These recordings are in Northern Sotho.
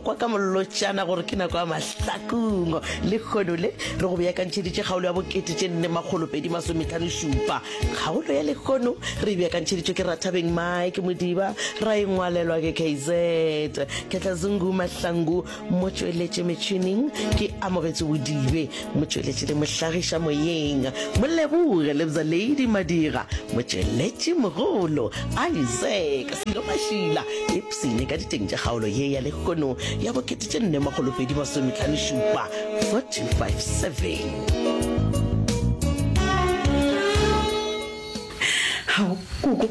kwa ka mollotšana gore ke nako ya mahlakong. Lehono le re go beakantšheditše kgaolo ya bokete tše nne makgolo pedi masometlhano šupa. Kgaolo ya lehono re e beakantšheditšwe ke Rathabeng Mike Modiba, ra e ngwalelwa ke KZ Ketla Zungu Mahlangu. Motšweletši metšhineng ke Amogetšwe Bodibe, motšweletši le mohlagiša moyeng Moleboge Lebza Lady Madira, motšweletši mogolo Isaac Silo Mašila. Ipshine ka diteng tša kgaolo ye ya lehono ya bo 4257 4257. Hao, koko.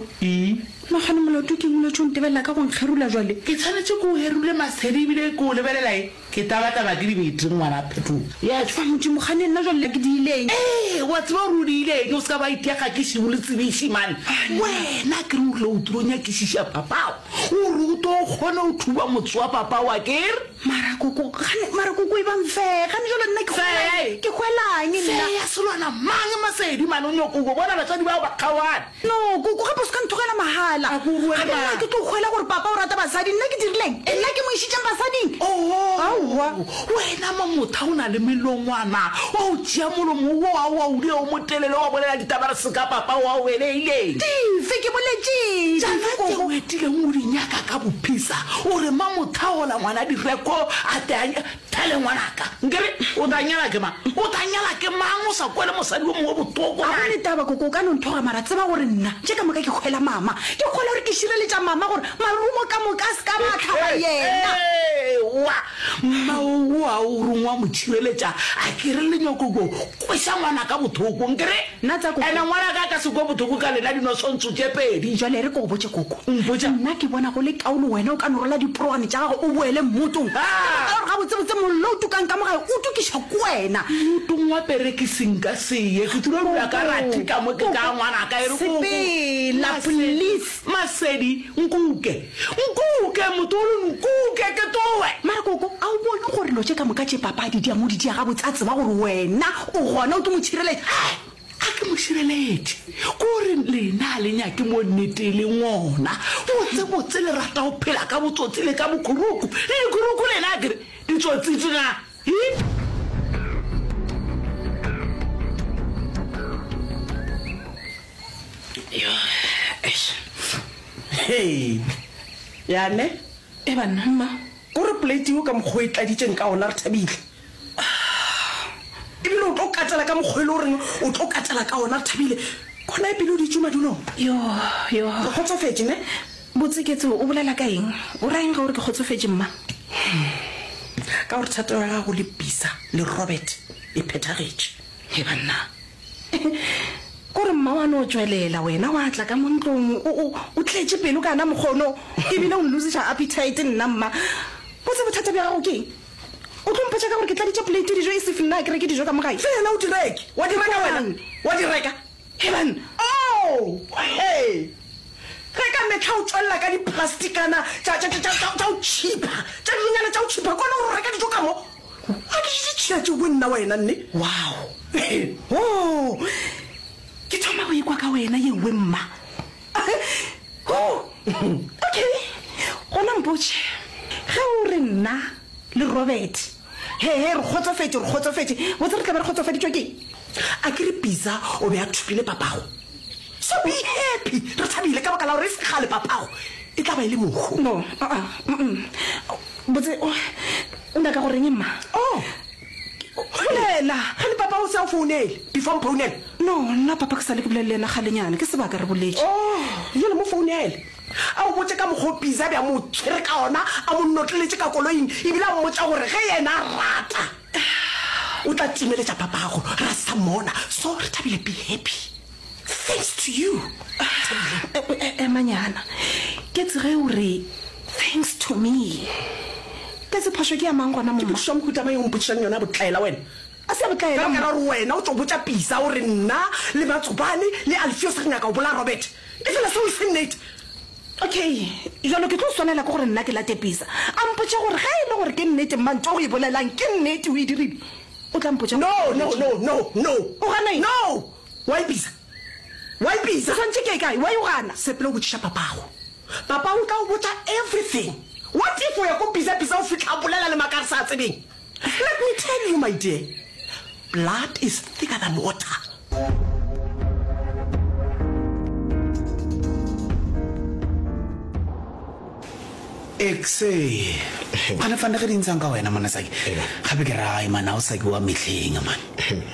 Nagane molato ke eng o letše o ntebelela ka go nkgerula jwale? Ke tshwanetše ke o herule Masedi ebile ke o lebelela e ke tabataba ke dibete ngwana Phetola. Yes. Fa Modimo gane nna jwale ke diile eng? Ee, wa tseba gore o diile eng, o se ka ba ithekga ke šibu le tsebiši man. Wena ke re o rile o tlo nyakišiša papago, o re o tlo kgona go thuba motse wa papago akere? Mara koko, gane, mara koko e bang fee, gane jwale nna ke hwelang, ke hwelang nna? Fee ya selwana mang Masedi man, o nyoko go bona batswadi bao ba kgaogane. No, koko, gape o se ka nthogela mahala. A ko rue Gape nna ke tlo hwela gore papa o rata basadi. Nna ke dirileng? Nna ke mo išitšeng basading? Oho, Aowa. wena Mamotha o na le melongwana. Wa o tšea molomo wo wa o dira o motelele wa bolela ditaba re se ka papa o a o beleileng. Dife? Ke boletše Tšana dife, tše koko? o etileng o di nyaka ka bophisa, o re Mamotha ola ngwana direko a tle a. Thale ngwanaka, nkere o tla nyala ke mang? O tla nyala ke mang o sa kwele mosadi yo mongwe bohloko Ga go man? ne taba koko, o ka no nthoga mara tseba gore nna tše ka moka ke hwela mama. Ke kgolwa gore ke šireletša mama gore marumo ka moka a se ka ba a hlaba yena. Ewa, mma o a o reng wa mo tšhireletša a ke re le nyoko go kweša ngwanaka bohloko nkere? Nna tsa koko. Ene ngwanaka a ka se kwe bohloko ka lena dinosontso tše pedi. Jwale e re ke go botše koko. Mpotša. Nna ke bona go le kaone wena o ka no rwala diporogwane tša gago o boele mmotong. Ka baka la gore gabotsebotse mollo o tukang ka mo gae o tukišwa ke wena. Mmotong wa perekisi nka se ye. Ke tlilo dula ka rathi ka mo ke ka ngwanaka. E re koko. Sepela, please. Masedi, nkuke. Nkuke, motolo, nkuke ke towe. Mara koko, a o bone gore dilo tše ka moka tše papa a di diang o di dia gabotse a tseba gore wena o gona o tlo mo tšhireletša? Ai, a ke mo šireletše. Ko re lena a le nyake mo nnete e leng gona. Botse botse le rata go phela ka botsotsi le ka bokhuruku. Le dikhuruku lena akere ditsotsi tšena. Hi? Yo, eish. Hei. Ya ne? E banna, mma. Ko re plate yeo ka mokgwa o e tladitšeng ka ona re thabile. Ebile o tlo katela ka mokgwa e le goreng o tlo katela ka ona re thabile. Kona e pele o ditše madulong. Yo, yo. Re kgotsofetše ne? Botse Ketso, o bolela ka eng? O ra eng ge o re ke kgotsofetše, mma? Ka gore thato ya gago le Bisa le Robert e phethagetše. He banna. Ko re mma wa no tšwelela wena wa tla ka mo ntlong o, o, o tletše pelo ka na mokgono ebile o nlosiša appetite nna mma. Botse bothata bja gago ke eng? O tlo mpotša ka gore ke tladitše plate dijo e sef nna a ke reke dijo ka mo gae? Fela o di reke. Wa di reka wena? Wa di reka? He banna. Oh, he! Ge ka mehla o tšwelela ka diplastikana tša, tša, tša, tša, tša go tšhipha, tša dilonyana tša go tšhipha, kwana gore o reka dijo ka mo. A ke je ditšhila tšeo bo nna wena nne. Wow! Oh! Ke thoma go ikwa ka wena yewe mma. Oh! Okay, gona mpotše, ge o re nna le Robert, he he, re kgotsofetše, re kgotsofetše, botse re tla be re kgotsofaditšwe ke eng? A ke re Pizza o be a thopile papago? So be happy, re thabile ka baka la gore e se kgale papago e tla ba e le mohu. No, uh-uh, mm-mm. Botse, o, o nyaka go reng mma? Oh. Bolela. Gane papa o se a o founele, before mphounela? No, nna papa ke sa le ke bolele le yena kgalenyana, ke sebaka re boletše. Oh, bjale mo founele. A o botše ka mokgwa o Pizza a be a mo tshwere ka ona, a mo notleletše ka koloing, ebile a mmotša gore ge yena a rata, o tla timeletša papago, ra se sa mmona. So, re thabile, be happy. Thanks to you, Thabile. Emanyana. Ketse ge o re thanks to me. Ketse phošo ke ya mang gona mo Ke mma? potšišo ya mohuta mang ye o mpotšišang yona ya botlaela wena? A se ya botlaela Ka baka mma. la gore wena o tšo botša Pisa o re nna le Matsobane le Alfios re nyaka go bolaya Robert. Efela seo e se nnete. Okay, bjalo ke tlo swanela ke gore nna ke late Pisa. A mpotše gore ge e le gore ke nnete mma ntho o e bolelang ke nnete o e dirile. O tla mpotša No, gore no, no, no, no. O gana eng? No! Why Pisa? Why Pisa? O swantše ke ye kae? Why o gana? Sepela o botšiša papago. Papa o tla o botša everything. What if. if o ya ko Bisa Bisa o fihla a bolela le maaka a re sa a tsebeng? Let me tell you my dear, blood is thicker than water. Exe. Gane fane ge di ntshang ka wena monna Saki. Gape ke ra man ha o Saki wa mehleng man.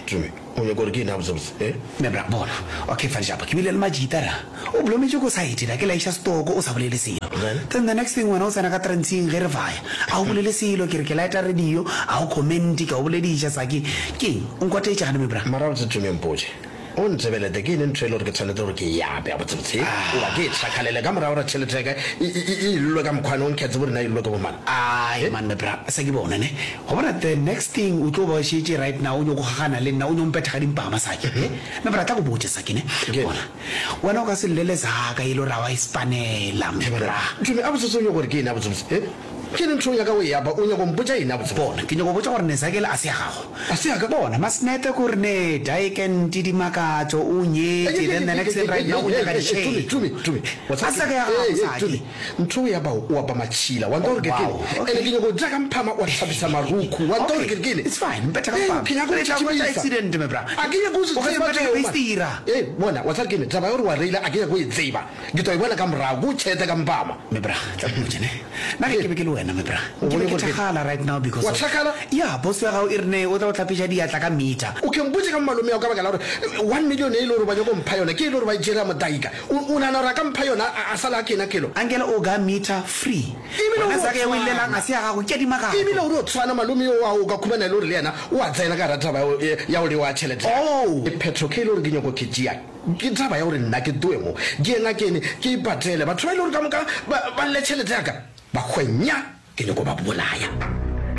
Tumi, o nyaka gore ke eng gabotsebotse? Eh? Me bra, bona. Okay fane japa, ke bile le majita ra. O blometše ko side ra, ke laiša stoko o sa bolele selo. Then? Then the next thing wena o tsena ka trantsing ge re vaya. A o bolele selo, ke re ke lighta radio, a o comment, ke a o bolediša Saki. Keng? O nkwatetše gane me bra? Mara gabotse Tumi mpotše. O ntebelete, ke eng ntho e le gore ke tshwanetse gore ke e ape gabotsebotse? Goba ke e tšhakgalele ka morago gore tšhelete ya ka e, e, e, e illwe ka mokgwane o nkhe tsebe gore na e illwe ke bomang? Ai man my bra, se ke bone ne. Go bona the next thing o tlo ba o šetše right now o nyoko gagana le nna o nyo mpetha ka dimpama Saki. He? My bra tla go botše Saki ne. Bona, wena o ka se llele zaka e le gore ga wa e spanela my bra. Tumi, gabotsebotse o nyoko gore ke eng gabotsebotse? He? Ke eng ntho o nyaka go e apa? O nyaka go mpotša eng gabotsebotse? Bona, ke nyako go botša gore Nezakele a se ya gago. A se ya ka? Bona, Masnete ko re ne Daekent Dimakatšo o nyetše, then the next thing right now o nyaka ditšhelo. Tumi, Tumi, A se ka ya gago, Saki. Ntho o ya ba o apa matšhila, wa nta gore ke kene? Ene ke nyaka go ja ka mphama wa hlapisa marukhu, wa nta gore ke kene? It's fine, mpetha ka mphama. Ke nyaka go Re tla hwetša accident, my bra. A ke nyake go se O ka se tseba mpetha ka tšeo, man. feistira. Ee, bona, wa tseba ke eng? Taba ya gore wa reila a ke nyake go e tseba. Ke tlo e bona ka morago, ke o tšhete ka mpama. Me bra, tla ke botše ne. Nna ge ke be ke le wena, me bra, O nke be bone ke gore ke. thakgala right now because Wa of. thakgala? Ya, boss ya gago e re ne o tla go hlapiša diatla ka meter. O ke mpotše ka malome ao ka baka la gore one million e le gore ba nyaka go mpha yona, ke e le gore ba e tšere ya modaika. O, o nagana gore a ka mpha yona a, a sala a kena kelo? Ankele o ga meter free. Ebile o Wena ro zaka ye o e llelang tshwana. ga se ya gago, ke ya dimakatšo. Ebile o ro tshwana, malome yo wa o ka khumana e le gore le yena o a tsena ka gara taba ya go, ya go lewa tšhelete ya ka. Oh! Phetho ke e le gore ke nyako ke tšea. Ke taba ya gore nna ke tloe mo, ke ye ngakeng, ke ipatele. Batho ba e le gore ka moka ba, ba lle tšhelete ya ka, ba hwe nya, ke nyako ba bolaya.